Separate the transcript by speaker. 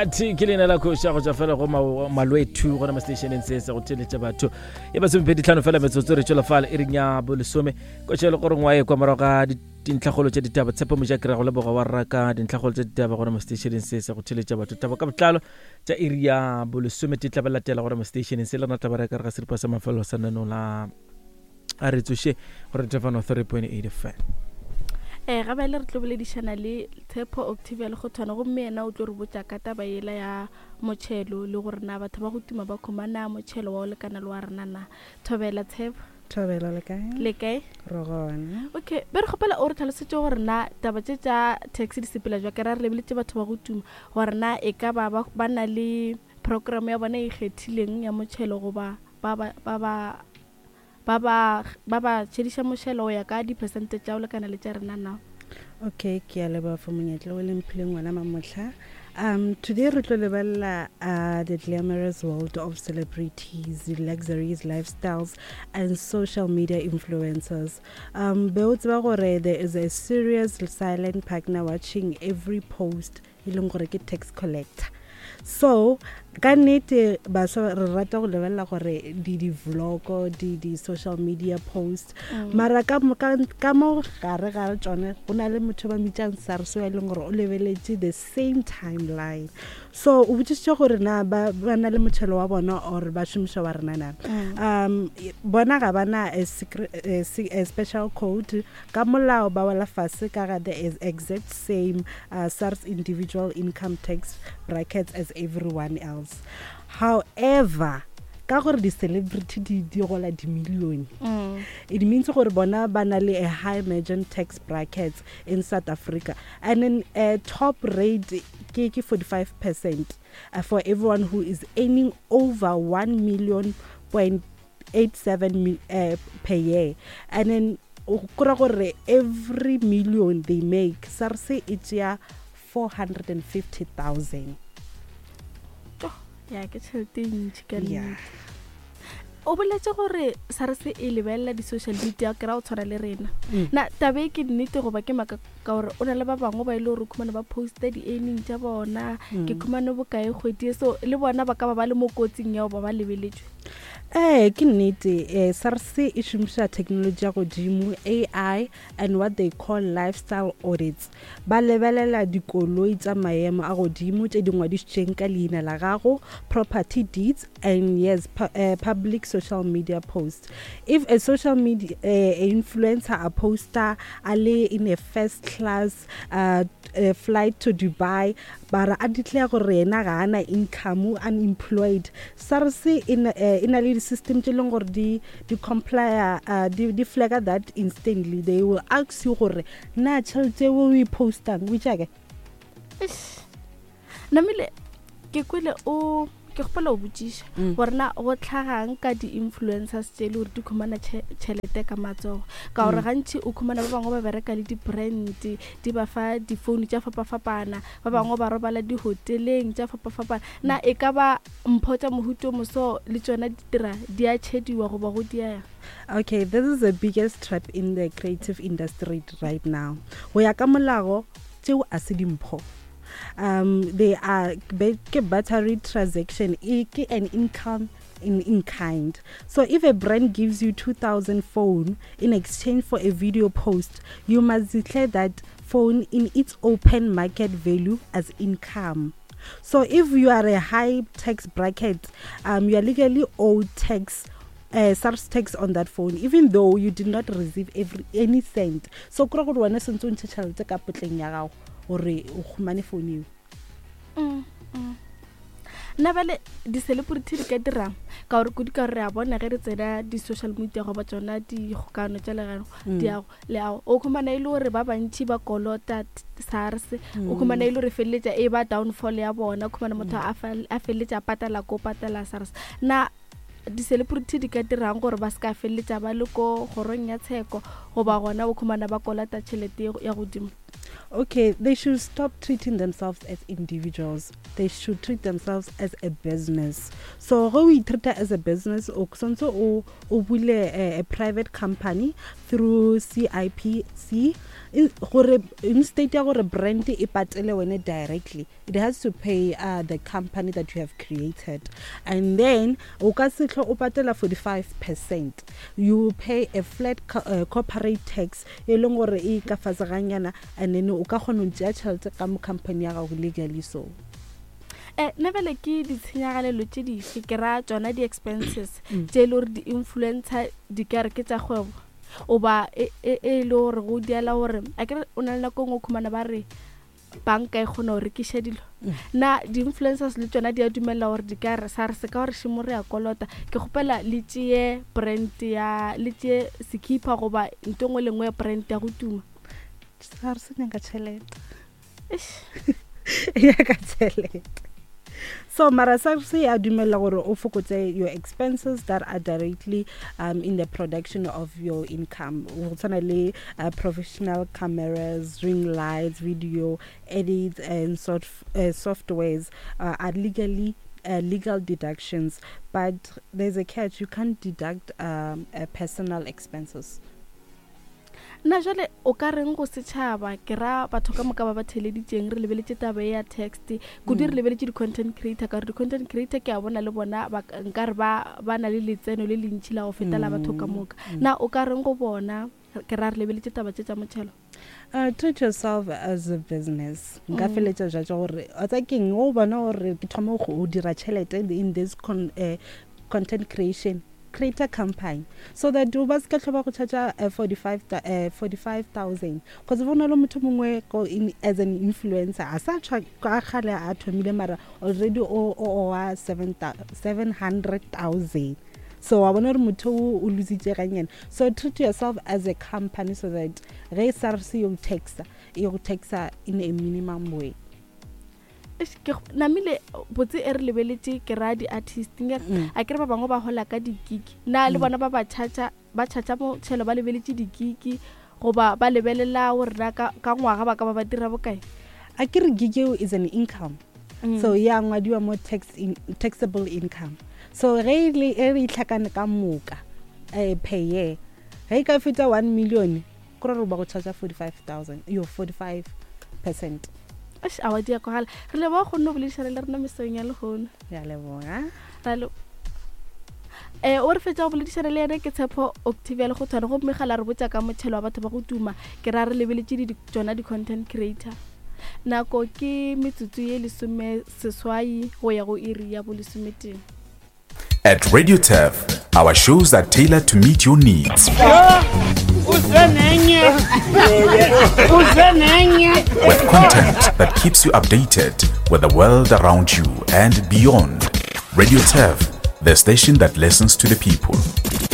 Speaker 1: Mokati ke leina la kgoša go tšwa fela go malwethu gona mo stationeng se se go theletša batho e masomepedi tlhano fela metsotso re tšwela fale e reng ya bolesome ko tšhele gore ngwa e kwa morago ga dintlhakgolo tša ditaba tshepo moja kry go leboga wa rra ka dintlhakgolo tša ditaba gona mo stationeng se se go theletša batho taba ka botlalo tša iri ya bolesome te tla ba latela gona mo stationeng se le rena tla ba reka re ga seripa sa mafelelo sa nano la a re tsoše gore tefano 3.8 fm.
Speaker 2: Um ga bjale re tlo boledišana le Tshepo Octavia Lekgothwane gomme yena o tlo re botša ka taba yela ya motšhelo le gore na batho ba go tuma ba khumana motšhelo wa go lekana le wa rena na. Thobela Tshepo.
Speaker 3: Thobela le kae?
Speaker 2: Le kae?
Speaker 3: Re gona.
Speaker 2: Okay, be re kgopela o re tlhalosetše gore na taba tše tša tax di sepela jwa ke ra re lebeletše batho ba go tuma gore na e ka ba ba na le program ya bona e ikgethileng ya motšhelo goba ba ba ba ba ba ba ba ba tšhediša mošelo go ya ka dipersente tša go lekana le tša rena na?
Speaker 3: Okay, ke a leboga for monyetla o le mphileng wona mamohla. Um, today re tlo lebelela uh, the glamorous world of celebrities, luxuries, lifestyles and social media influencers. Um, be o tseba gore there is a serious silent partner watching every post e leng gore ke tax collector so ka nnete baswa re rata go lebelela gore di di-vlogo di di-social media post mm. mara ka, ka, ka mo gare ga tsone go na le motho ba mitsang sars e leng gore o lebeletše the same timeline so o botsisitse gore na ba, ba na le motšhelo wa bona or ba šomiša wa rena na mm. um bona ga ba na a, secret, a, a special code Ka molao ba wela fase ka ga the exact same uh, SARS individual income tax brackets as everyone else. However, ka gore di-celebrity di di gola dimilione mm. it means gore bona ba na le a high margin tax brackets in South Africa and then a top rate ke ke 45 percent uh, for everyone who is earning over 1 million point 87 uh, per year and then go ra gore every million they make SARS e tšea 450,000.
Speaker 2: Ya ke tšhelete e ntši ka nnete. O boletše gore SARS e lebelela di-social media ke ra go tshwana le rena. Mm. Na tabe e ke nnete goba ke maka ka gore o na le ba bangwe ba e le gore o khumane ba posta di-earning tša bona mm. ke khumane bokae kgwedi e so le bona ba ka ba ba le mo kotsing ya go ba ba lebeletšwe.
Speaker 3: Ee, ke nnete. Eh, SARS e šomiša technology ya godimo, AI and what they call lifestyle audits. Ba lebelela dikoloi tša maemo a godimo tše di ngwadišitšeng ka leina la gago, property deeds and yes, pu eh, public social media posts. If a social media eh, influencer a poster a le in a first class uh, uh, flight to Dubai bara a declare gore yena ga ana income unemployed SARS e na eh, e na le di-system tše leng gore di di complya uh, di, di flagga that instantly they will ask you gore na tšhelete o e postang o itšake
Speaker 2: Namile ke kwele o ke kgopela o botšiša mm. gore na go tlhagang ka di-influencers tše e le gore di khumana tšhelete ka matsogo ka gore mm. gantši o khumana ba bangwe ba bereka le di-brand di ba fa difounu tša fapafapana ba bangwe ba robala dihoteleng tša fapafapana na e ka ba mpho tša mohuto moso le tšona di dira di a tšhediwa goba go diega?
Speaker 3: Okay, this is the biggest trap in the creative industry right now. Go ya ka molao tšeo a se dimpho. Um they are ke battery transaction e ke an income in, in kind. So if a brand gives you 2000 phone in exchange for a video post, you must declare that phone in its open market value as income. So if you are a high tax bracket, um, you are legally owed tax uh, SARS tax on that phone even though you did not receive every any cent. So kura gore wena sentse o ntshe tšhelete ka potleng ya gago gore o khumane phone eo.
Speaker 2: Mm, mm. Nna bale di-celebrity di ka dirang ka gore kudu ka gore re a bona ge re tsena di-social media goba tsona dikgokano tša legano mm. diago leago o khumana e le gore ba bantšhi ba kolota SARS o khumana e le gore feleletša e ba downfall ya bona khumana motho mm. a feleletša a patala ko patala SARS na di-celebrity di ka dirang gore ba se ka feleletša ba le ko kgorong ya tsheko goba gona o khumana ba kolota tšhelete ya godimo?
Speaker 3: Okay, they should stop treating themselves as individuals. They should treat themselves as a business. So go o itreata as a business, o santse o o bule a, a private company through CIPC. Gore instead ya gore brand e patele wene directly, it has to pay uh, the company that you have created. And then o ka se hlwe o patela 45 percent, you pay a flat co uh, corporate tax e leng gore e ka fase ganyana, and then o ka kgona go tšea tšhelete ka mo company ya gago legally. So
Speaker 2: Eh, nna bjale ke ditshenyagalelo tše dife, ke ra tšona di-expenses tše e le gore di-influencer di ka re ke tša kgwebo, oba e, e, e le gore go diela gore a kere o na le nako e nngwe o khumana ba re banka e kgona go rekiša dilo. Na di-influencers le tšona di a dumelela gore di ka re sa re se ka gore šemo re a kolota, ke kgopela le tšeye brand ya, le tšeye sekhipha goba nto nngwe le nngwe ya brand ya go tuma?
Speaker 3: Sa re se nyaka tšhelete, e nyaka tšhelete. So mara SARS ya dumela gore o fokotse your expenses that are directly um, in the production of your income, go tshwana le uh, professional cameras, ring lights, video edits and soft, uh, softwares uh, are legally uh, legal deductions. But there's a catch: you can't deduct um, uh, personal expenses.
Speaker 2: Na jwale o ka reng go setšhaba, ke ra batho ka moka ba ba theeleditšeng? Re lebeletše taba ye ya text kudu, re lebeletše di-content creator, ka gore di-content creator ke a bona le bona ba nkare ba ba na le letseno le lentši la go feta la batho ka moka. Na o ka reng go bona, ke ra re lebeletše taba tše tša motšhelo?
Speaker 3: Uh, treat yourself as a business. Nka feletša jwa tša gore o tsa keng o bona gore ke thoma go dira tšhelete in this con, uh, content creation, create a company so that o ba se ka tlho ba go charge uh, 45 uh, 45,000, cause go na le motho mongwe ko in, as an influencer a sa tshwa ka kgale a thomile, mara already o o wa 700,000. So wa bona gore motho o o lositse ganyane. So treat yourself as a company so that ge SARS yo taxa, e go taxa in a minimum way.
Speaker 2: Eish, ke go- namile botse e re lebeletše, ke ra di-artist nke a kere ba bangwe ba gola ka dikiki, na le bona ba ba charge, ba charge motšhelo ba lebeletše dikiki, goba ba lebelela gore na ka, ka ngwaga ba ka ba ba dira bokae?
Speaker 3: A ke re gig eo is an income, so ya ngwadiwa mo tax in, taxable income. So ge e le e re itlhakane ka moka eh, per year, ge e ka feta 1 million, kore gore ba go charge 45,000, yo 45 percent.
Speaker 2: Eish, awa di a kwagala. Re leboga kgonne go boledišana le rena mesong ya lehono.
Speaker 3: Ya leboga.
Speaker 2: Ra le eh o re fetša go boledišana le yena ke Tshepo Octavia Lekgothwane, gomme ga la re botša ka motšhelo wa batho ba go tuma, ke ra re lebeletše di tšona di-content creator. Nako ke metsotso ye 18 go ya go iri ya bolesometee.
Speaker 4: At Radio Turf, our shows are tailored to meet your needs. With content that keeps you updated with the world around you and beyond. Radio Turf, the station that listens to the people.